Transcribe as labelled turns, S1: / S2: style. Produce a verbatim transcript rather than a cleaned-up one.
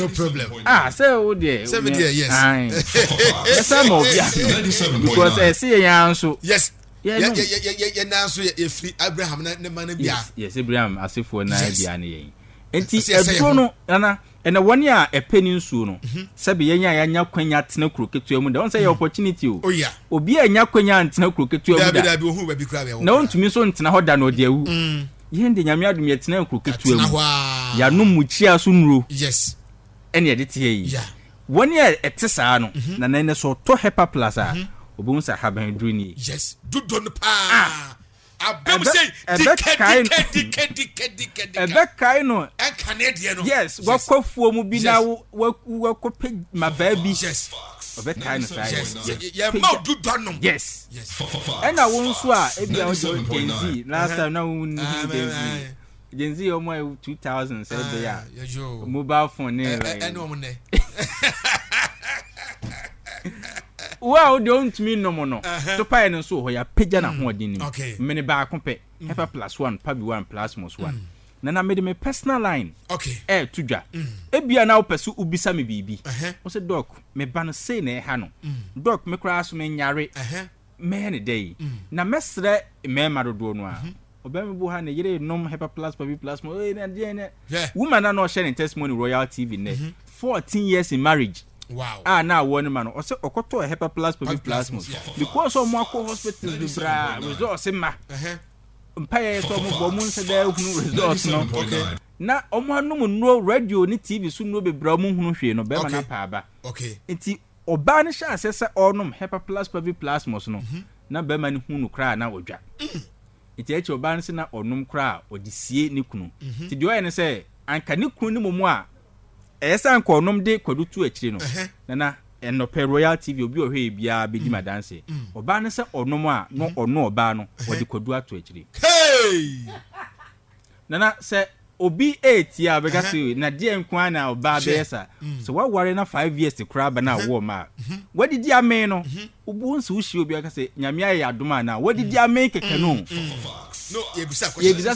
S1: No problem.
S2: Ah, sɛ wo deɛ.
S1: Sɛ me deɛ, yes.
S2: Ɛsɛ ma obi ano because ɛsɛ yɛn ara nso.
S1: Yes. Yɛ yɛ yɛ yɛ yɛ nan so yɛ yɛfiri Abraham na ne ma no bia.
S2: Yes yes, Abraham asefoɔ nan bia ne yɛn. Nti ɛduro no, nana, ɛnna wɔn a ɛpɛ ne nsuo no, sɛbi, yɛn a yɛanya kwanya tena kuro ketewa mu da wɔn sɛ yɛ opportunity o.
S1: Oh yeah.
S2: Obi a nya kwanya ntena kuro ketewa mu da.
S1: Dabi dabi, ohun baabi kura bɛ.
S2: Na ontumi nso ntena hɔ da na ɔde awu. Yɛn de, Nyame adum, yɛtena kuro ketewa mu, yɛanom mukyia so nnuro.
S1: Yes.
S2: Ɛne yɛde teɛ yi. Wɔn a ɛte saa no, na na ɛnɛ sɛ ɔtɔ Hepa Plus a, obɛhu sɛ ahaban duro nie.
S1: Yes, dodo no paa. Abɛm sɛ dike dike dike dike dike dike.
S2: Ɛbɛkae no.
S1: Ɛnkane deɛ no.
S2: Yes, wakɔ fuo mu bi na wakɔ pɛ mabaa bi.
S1: Yes.
S2: Ɔbɛkae no saa.
S1: Yes, yɛ ma dodo nom.
S2: Yes, ɛna wo nso a ebi a wogye Gen Z, last time na wo ni Gen Z, Gen Z ɔmo a two thousand sɛ ɛbɛyɛ a mobile phone ne
S1: like ɛne ɔmo nɛ.
S2: Wo a wode ɔntumi nnom no, topaeɛ no nso wɔ hɔ, yɛapagya n'ahoɔden no mu. Mene baako pɛ, Hepa Plus one, Pabi one, Plasmos one. Na na mede me personal line ɛɛto dwa. Ebia na wopɛ so wobisa me biribi. Wo sɛ, "Doc, me ba no sei na ɛha no. Doc, me koraa so menyare. Mɛyɛ ne dɛ yi?" Na mɛsrɛ mmarima dodoɔ no a ɔbɛn bi ha ne yere nom Hepa Plus, Pabi Plasmos. Ee, na deɛ ne woman na na ɔhyɛ ne testimony Royal T V nnɛ, fourteen years in marriage.
S1: Wow.
S2: A na awɔ ne ma no, ɔsɛ ɔkɔtɔ Hepa Plus, Pabi Plasmos because ɔmo akɔ hospitals bebree, results ma mpaeɛ sɛ ɔmo bɔ ɔmo nsa dɛ hunu results no na ɔmo anom nnuro, radio ne T V so nnuro bebree a ɔmo nhunu hwee no, bɛrima no apa aba.
S1: Okay.
S2: Nti ɔbaa no hyɛ aseɛ sɛ ɔrenom Hepa Plus, Pabi Plasmos no, na bɛrima no hu no koraa na ɔdwa. Nti akyi ɔbaa no sɛ na ɔnom koraa ɔde sie ne kunu. Nti deɛ ɔyɛ no sɛ anka ne kunu no mu a ɛyɛ sɛ anka ɔnom de kwadu to akyire no, nana, ɛnɔpɛ Royal T V, obi a ɔhwɛ yɛ biara bɛdi ma danse. Ɔbaa no sɛ ɔnom a na ɔno ɔbaa no ɔde kwadu ato akyire.
S1: Hey!
S2: Nana, sɛ obi etie a, ɔbɛka sɛ na deɛ nko ara na ɔbaa bɛyɛ sa sɛ waware na five years koraa ba na awɔ ma a wadidi amee no, wobu nso wohyia obi aka sɛ Nyame ayɛ adom a na wadidi amee kɛkɛ no.
S1: No, yɛbisa question.
S2: Yɛbisa.